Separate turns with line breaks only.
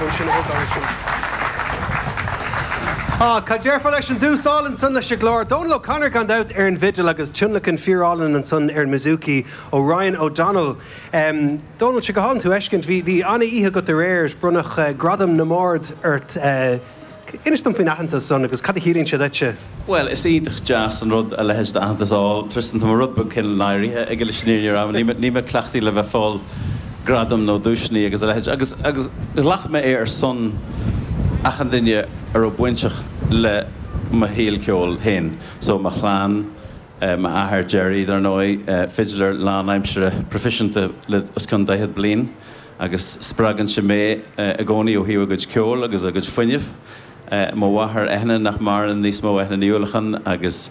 micreafón sin a thógáil ansin. Á, cad déarfá leis an dtús álainn san leis an gclár? Dónal O'Connor gan dabht ar an bhfidil agus tionlacan fíorálainn ansan ar an mbouzouki ó Ryan O'Donnell. Dónal, sé go hálainn tú a fheiscint. Bhí, bhí an-oíche agat aréir, bronnadh Gradam na mBard ort. Inis dom faoin aitheantas san agus cad a chiallaíonn sé duitse?
Bhuel, is iontach deas an rud a leithéid d'aitheantas a fháil. Tristan, tá mé rud beag cineál náirithe aige leis an fhírinne a rá. Níl mé cleachtaithe le bheith ag fáil gradam nó duaiseanna agus a leithéid. Agus, agus ghlac mé é ar son achan duine a raibh bainteach le mo shaol ceoil féin. So, mo chlann, m'athair Gerry, dar ndóigh, fidléir lánaimseartha proifisiúnta le os cionn daichead bliain. Agus spreagann sé mé i gcónaí ó thaobh a gcuid ceoil agus a gcuid fuinnimh. Mo mháthair Eithne, nach maireann níos mó, Eithne Ní Uallacháin, agus.